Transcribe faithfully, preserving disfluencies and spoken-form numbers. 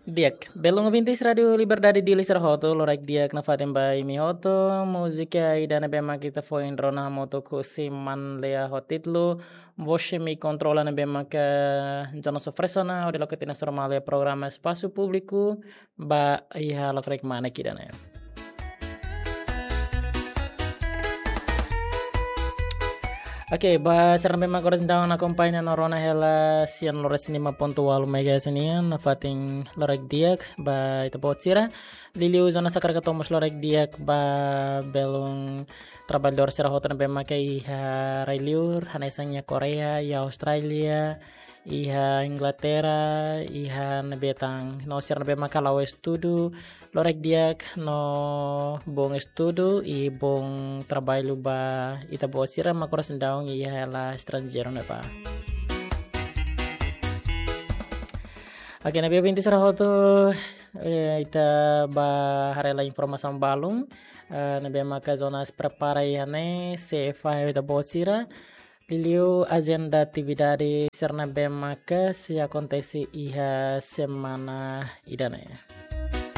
Di'ak, belun ouvintes Rádio Liberdade Dili sira hotu, loraik di'ak nafatin ba imi hotu. Múzika ida ne'ebé mak ita foin rona hamutuk husi Manlea ho títulu Você Me Controla ne'ebé maka Jonas oferese ona hodi loke tiha ona sira Manlea programa Espasu Públiku ba iha lokraik mane ida-ne'e. Oke, ba sira ne'ebé mak oras daudaun akompaña no rona hela sian loras lima ponto walu megahertz nian, nafatin loraik di'ak ba ita-boot sira. Liuliu Jonas hakarak hato'o mós loraik di'ak ba belun traballadór sira hotu ne'ebé maka iha rai-liur, hanesan iha Koreia, iha Austrália, iha Inglaterra, iha ne'ebé tan, no sira ne'ebé maka la'o estudu, loraik di'ak no bom estudu i bom traballu ba ita-boot sira mak oras daudaun iha hela estranjeiru ne'ebá. Oke, ne'ebé ouvintes sira hotu, eh, ita bá haree hela informasaun balun, eh, ne'ebé maka Jonas prepara iha ne'e, sei fahe ba ita-boot sira. Liuliu ajenda atividade sira ne'ebé maka sei akontese iha semana ida-ne'e.